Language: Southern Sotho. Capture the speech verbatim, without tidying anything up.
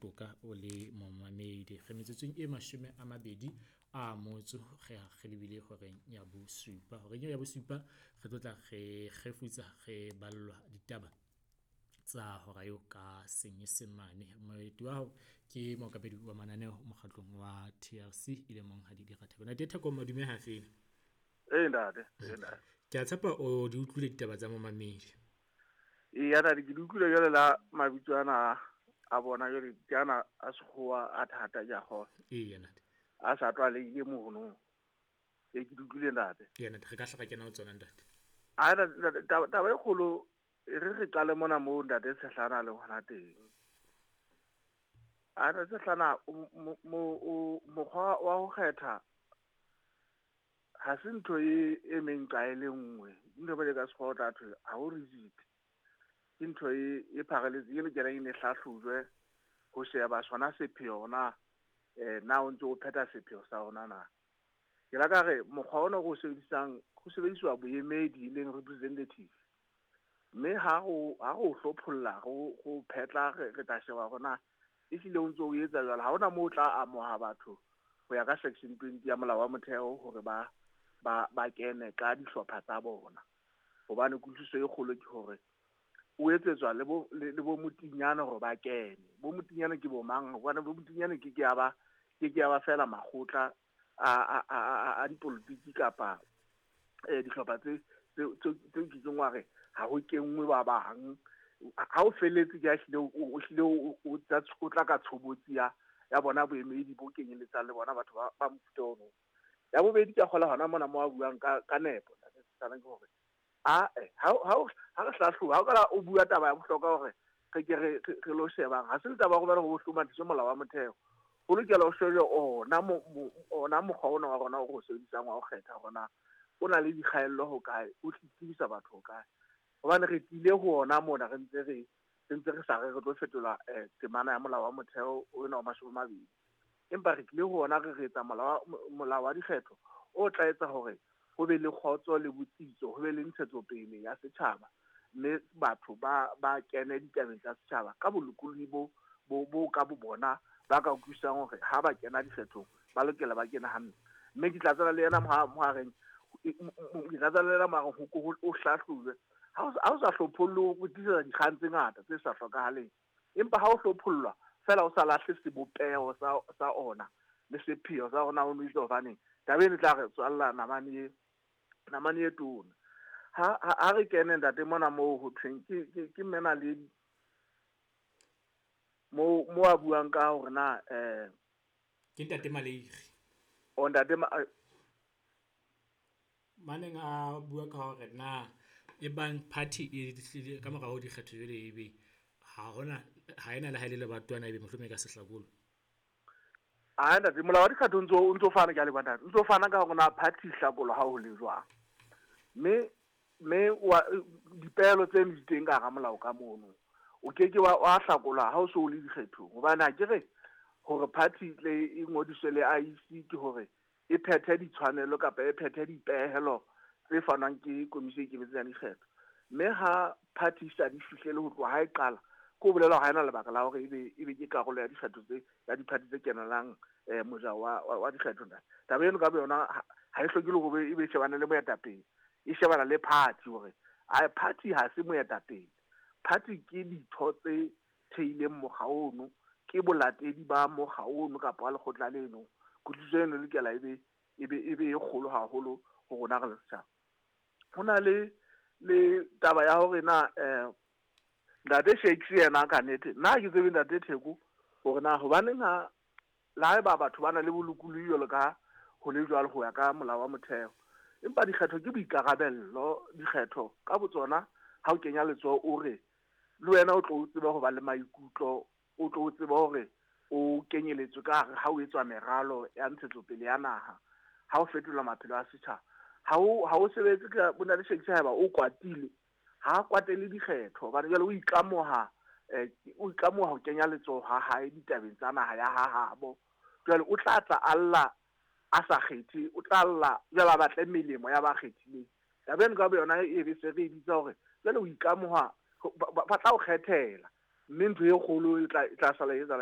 toka o le momamedi. Re metsotsong e mashome a mabedi a motso re re lebile horeng ya bosupa. Horeng eo ya bosupa re tlo tla re kgefutsa re ballwa ditaba tsa hora eo ka Senyesemane. Moeti wa hao ke mookamedi wa mananeo mokgatlong wa T R C e le monghadi Dira Theko. Ntate Theko, madume ha fela. Ee ntate, ee ntate. Ke a tshepa o di utlwile ditaba tsa momamedi. Ee ntate, ke di utlwile jwale la mabitso ana a bona jwale ke ana a sekgowa a thata ke a kgolwa. Ee ntate. A sa tlwaelehile mono. Ee ke di utlwile ntate. Ee ntate, re ka hla ra kena ho tsona ntate. A ntate, taba e kgolo re re qale mona moo ntate Tshehlana le hona teng. A ntate Tshehlana mokgwa wa ho kgetha ha se ntho e emeng kae le nngwe. Ntho e ka sekgowa o tla thwe ha ho rigid. Ke ntho e e pharaletseng e lokelang e ne hlahlojwe ho sheba sona sepheo na na o ntse o phetha sepheo sa ona na. Ke la ka re mokgwa ona o sebedisang ho sebediswa boemedi e leng representative. Mme ha ho ha ho hlopholla ho ho phetla re tla sheba hore na ehlile o ntso o etsa jwalo. Ha hona moo o tla amoha batho ho ya ka section twenty ya molao wa motheo hore ba ba ba kene ka dihlopha tsa bona. Hobane kutlwisiso e kgolo ke hore o etsetswa le bo le bo motinyana hore ba kene. Bo motinyana ke bo mang? Hobane bo motinyana ke ke ya ba ke ke ya ba fela makgotla a a a a dipolotiki kapa eh dihlopha tse tse tse ke tseng wa re ha ho kenngwe ba bang. Ha o feletse ke a hlile o hlile o o tla ka tshobotsi ya ya bona boemedi bo kenyeletsang le bona batho ba ba mofuta ono. Ya bobedi ke a kgola hona mona mo a buang ka ka nepo ntate Tshehlana ke hore a ha ha ha re hlahloba ha o ka o bua taba ya bohlokwa hore re ke re re lo shebang. Ha se taba ya hore ho hlomathiswe molao wa motheo. Ho lokela ho shejwe ona ona mokgwa ona wa rona o re o sebedisang wa ho kgetha hore na o na le dikgaello ho kae, o tsebisa batho ho kae. Hobane re tlile ho ona mona re ntse re re ntse re sa re re tlo fetola temana ya molao wa motheo ona wa mashome a mabedi. Empa re tlile ho ona re re etsa molao molao wa dikgetho o tla etsa hore ho be le kgotso le botsitso, ho be le ntshetsopele ya setjhaba, mme batho ba ba kene ditabeng tsa setjhaba ka bolokolohi bo bo bo ka bo bona ba ka utlwisisang hore ha ba kena dikgethong ba lokela ba kene hantle. Mme ke tla tsela le yena mo ha reng ke tla tsela le yena mo ho o hlahlojwe. Ha o sa hlophollwe o tlisetsa dikgang tse ngata tse sa hlokahaleng. Empa ha o hlophollwa fela o sa lahle sebopeho sa sa ona le sepheo sa ona o no itse hobaneng taba eno e tla re tswalla namane e namane e tona. Ha ha re kene ntate mona moo ho thweng ke ke ke mena le mo mo a buang ka hore na eh ke ntate Maleiri. O ntate maneng a bua ka hore na e bang party e ka mora ho dikgetho jwale ebe ha hona ha ena le ha ile le batwana ebe mohlomong e ka sehlakolo. A ntate molao wa dikgetho ntso o ntso fana ka le batana ntso fana ka hore na party hlakolo ha ho le jwang. Mme mme wa dipehelo tse di teng ka hara molao ka mono. O ke ke wa wa hlakola ha o so le dikgethong. Hobane ha ke re hore party le e ngodiswe le I E C ke hore e phethe ditshwanelo kapa e phethe dipehelo tse fanwang ke komisi e ikemetseng ya dikgetho. Mme ha party sa di fihlele ho tloha ha e qala, ke ho bolela ha ena lebaka la hore ebe ebe ke karolo ya dikgetho tse ya di-party tse kenelang eh moja wa wa dikgetho ntate. Taba eno ka boyona ha e hloke le hore ebe shebana le moetapele, e shebana le party hore a party ha se moetapele. Party ke ditho tse theileng mokga ono, ke bolatedi ba mokga ono kapa wa lekgotla leno. Kutlwisiso eno e lokela ebe ebe ebe e kgolo haholo ho rona re le setjhaba. Ho na le le taba ya hore na eh ntate Shakes yena ka nnete nna ha ke tsebe ntate Theko hore na hobaneng ha le haeba batho ba na le bolokolohi jwalo ka ho le jwalo ho ya ka molao wa motheo. Empa dikgetho ke boikarabello, dikgetho ka botsona ha o kenya letsoho o re le wena o tlo tseba ho ba le maikutlo, o tlo tseba hore o kenyeletswe ka hare ha o etswa meralo ya ntshetsopele ya naha, ha o fetola maphelo a setjhaba. Ha o ha o sebetse ka bona le Shakes haeba o kwatile, ha kwatele dikgetho hobane jwale o ikamoha eh o ikamoha ho kenya letsoho ha hae ditabeng tsa naha ya ha habo. Jwale o tla tla alla a sa kgethe, o tla alla jwale a batle melemo ya ba kgethileng. Taba eno ka boyona e be se re e bitsa hore jwale o ikamoha ba tla o kgethela, mme ntho e kgolo e tla e tla sala e etsahala.